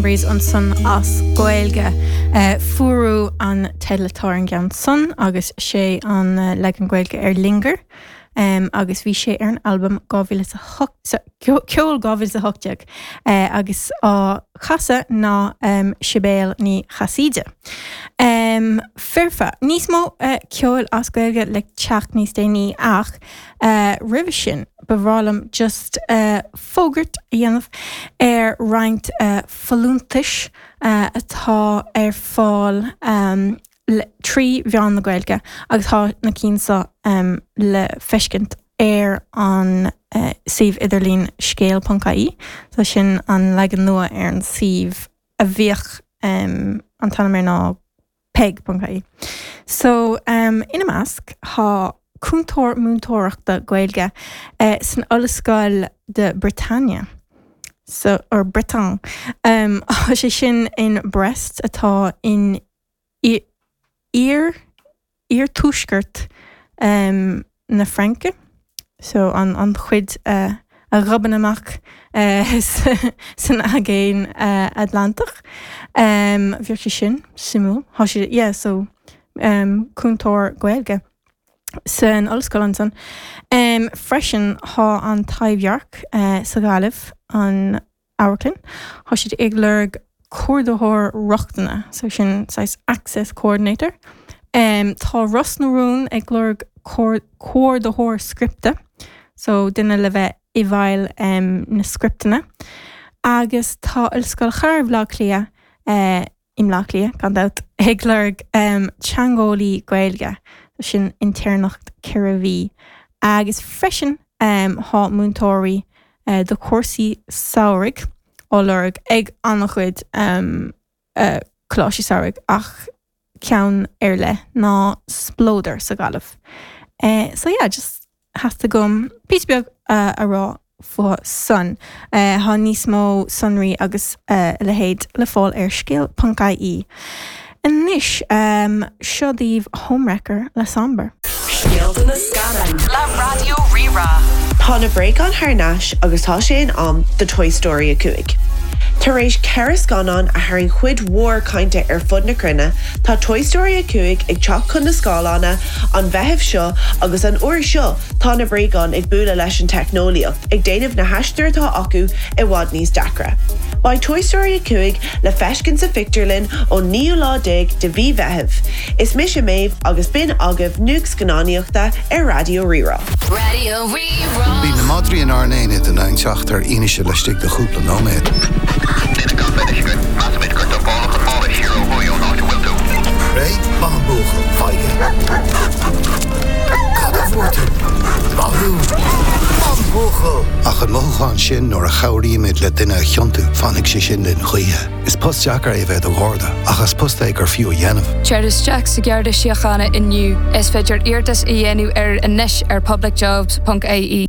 Cranberries ansan as Gaeilge. Fuarú an teideal atá ar an gceann san agus sé an leagan Gaeilge ar Linger agus bhí sé ar an albam 2008, Ceol 2018 agus á chasadh ná Sibéal Ní Chasaide. Foirfe. Níos mó ceoil as Gaeilge le teacht níos déanaí ach roimhe sin ba bhreá liom just fógairt a dhéanamh ar roinnt folúntais atá ar fáil trí mheán na Gaeilge agus tá na cinn seo le feiscint ar an suíomh idirlín scéal.ie, so sin an leagan nua ar an suíomh a bhíodh an t-ainm air ná peig.ie. So, ina measc, tá cúntóir múinteoireachta Gaeilge san Ollscoil de Bretagne, so, or Breton, tá sé sin in Brest atá in iar, iarthuaisceart na Fraince, so an an chuid a ghobann amach san Aigéan Atlantach. Bheadh sé sin suimiúil. Tá sé, yeah, so cúntóir Gaeilge san ollscoil ansan. Freisin tá an Taibhdhearc sa Ghaillimh, an amharclann. Tá siad ag lorg comhordaitheoir rochtana, so sin saghas access coordinator. Tá Ros na Rún ag lorg comhordaitheoir scripte, so duine le bheith i bhfeighil na scripteanna. Agus tá Ollscoil Chathair Bhaile Átha Cliath, i mBleá Cliath, gan dabht, ag lorg teangeolaí Gaeilge, sin intéirneacht 4 mhí, agus freisin tá múinteoirí do chúrsaí samhraidh á lorg ag an-chuid coláistí samhraidh ach ceann ar leith ná Spleodar sa Ghaillimh. So yeah, just theastaigh uaim píosa beag a rá fúthu san. Tá níos mó sonraí agus a leithéid le fáil ar scéal.ie. Anois, seo daoibh Homewrecker le Somber. Scéalta na Scannán le Raidió Rí-Rá. Tá na bréagáin thar n-ais agus tá sé in am do Toy Story 5. Tar éis 4 scannán a tharraing cuid mhór cainte ar fud na cruinne, tá Toy Story 5 ag teacht chun na scáileána an Mheitheamh seo agus an uair seo tá na bréagáin ag bualadh leis an teicneolaíocht, ag déanamh na haistir atá acu i bhfad níos deacra. Beidh Toy Story 5 le feiscint sa phictiúrlann ón naoú lá déag de mhí Mheithimh. Is mise Méabh agus b'in agaibh nuacht scannánaíochta ar Raidió Rí-Rá. Raidió Rí-Rá. Bíonn na madraí inár n-aonad in ann teacht ar fhianaise laistigh de chúpla nóiméad. Duine gan bheith againn, measaimid gur dumpáladh an mála siar ó thuaidh ón áit a bhfuil tú. Réidh? Maith an buachaill. Faigh é. Cad a fuair tú? Maith thú. Maith an buachaill! Ach an mothúchán sin nuair a chabhraímid le duine a chiontú, fanfaidh sé sin linn choíche. Is post deacair é a bheith i do Gharda, ach is post é gur fiú a dhéanamh. Tar isteach sa Gharda Síochána inniu. Is féidir iarratas a dhéanamh ar anois ar publicjobs.ie.